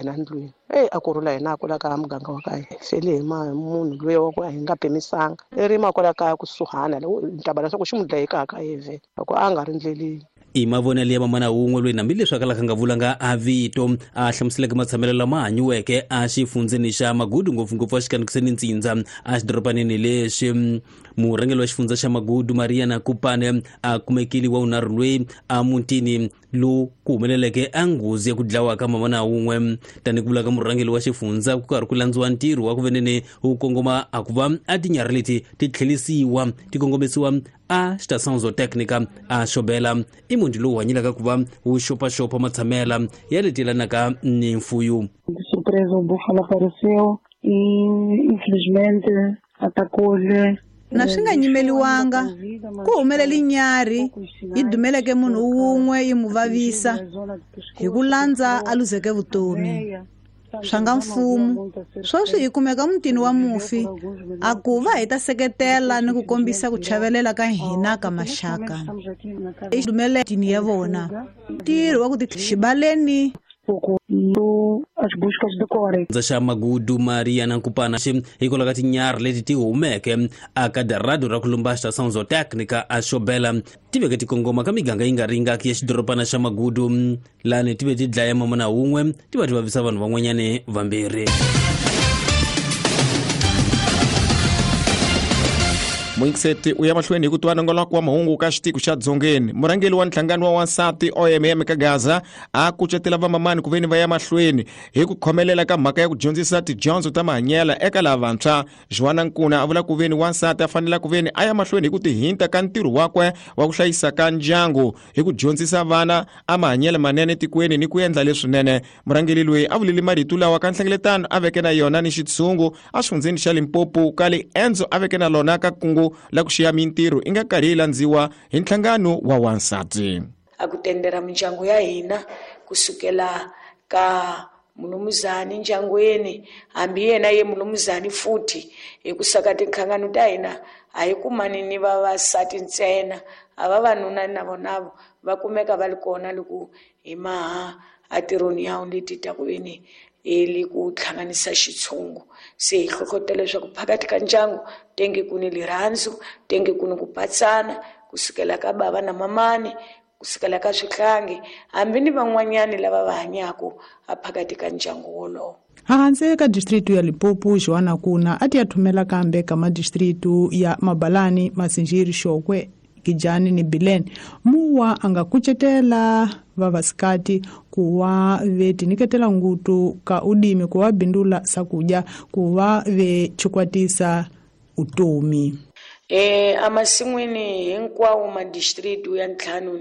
Hina ndlwini eyi a ku rhula hina a kula ka muganga wa ka hina fele hi munhu loyi wa ku a hi nga pimisanga i rima kwala kaya kusuhana ntaba leswaku xi n'wi dlaye kaya ka yevhe loko a nga ri ndleleni. I mavonelo ya mamana wun'we loyi hambileswi a kalaka nga vulanga a vito a hlamuseleke matshamelo lama hanyiweke a xifundzeni xa Magudu, ngopfungopfu a xikanikiseni ntsindza a xidorobanini lexi. Murhangeri wa xifundza xa Magudu Mariana Kupane a kumekile wa vunharhu loyi a mutini lowu ku humeleleke a nghozi ya ku dlawa ka mamana wun'we. Tanihi ku vula ka murhangeri wa xifundza, ku karhi ku landziwa ntirho wa ku venene wu kongoma a ku va a tinyarhi leti ti tlhelisiwa ti kongomisiwa a Estação Zootécnica a Xobela. I muti lowu hanyelaka ku va wu xopaxopa matshamela ya leti yelanaka ni mfuyo. De surpresa, o búfalo apareceu e infelizmente atacou-lhe. Na swi nga nyimeliwanga ku humelele nyarhi yi dumeleke munhu wun'we yi n'wi vavisa hi ku landza a luzeke vutomi. Swa nga mfumo sweswi hi kumeka mutini wa mufi a ku va hi ta seketela ni ku kombisa ku chavelela ka hina ka maxaka i dumeletini ya vona ntirho wa ku ti xibaleni as buscas decorrem. Xa Magudu Mariana Nkupana xi hikwalaho ka tinyarhi leti ti humeke aka darado ra ku lumba Estação Zootécnica a Xobela ti veke ti kongoma ka miganga yi nga ringaki ya xidorobana xa Magudu, lani ti ve ti dlaya mamana wun'we ti va ti vavisa vanhu van'wanyani vambirhi. Muyingiseti u ya mahlweni hi ku twa nongoloko wa mahungu ka xitiko xa Dzongeni. Murhangeri wa nhlangano wa wansati OMM ka Gaza a kucetela vamamani ku veni va ya mahlweni hi ku khomelela ka mhaka ya ku dyondzisa tidyondzo ta mahanyela eka lavantshwa. Joana Nkuna a vula ku veni wansati a fanela ku veni a ya mahlweni hi ku tihinta ka ntirho wakwe wa ku hlayisa ka ndyangu hi ku dyondzisa vana a mahanyelo manene tikweni ni ku endla leswinene. Murhangeri loyi a vulile marito lawa ka nhlengeletano a veke na yona ni xitshungu a xifundzeni xa Limpopo ka liendzo a veke na lona ka kungu la ku xiya mintirho i nga karhi yi landziwa hi nhlangano wa wansati. A ku tendera mindyangu ya hina kusukela ka mulumuzani ndyangwini, hambi yena ye mulumuzani futhi, hi ku saka tinhlangano ta hina a hi kumani ni vavasati ntsena, a vavanuna na vona va kumeka va ri kona loko hi maha entirhweni ya leti ta ku veni hi ku hlanganisa xitshungu. Se hi hlohlotela leswaku phakathi ka ndyangu tenge ku ni lirhandzu, tenge ku ni ku patsana kusukela ka bava na mamani, kusukela ka swihlangi, hambi ni van'wanyani lava va hanyaka a phakathi ka ndyangu wolowo. Hansi ka distritu ya Limpopo, Joana Kuna a ti ya thumela kambe ka madistritu ya Mabalani, Masinjiri, Xokwe, Gijani ni Bileni. Muwa a nga kucetela vavasikati ku va ve tinyiketela ngutu ka udimi ku va bindula sakudya ku va ve chikwatisa utomi. Emasin'wini hinkwawo madistritu ya ntlhanu.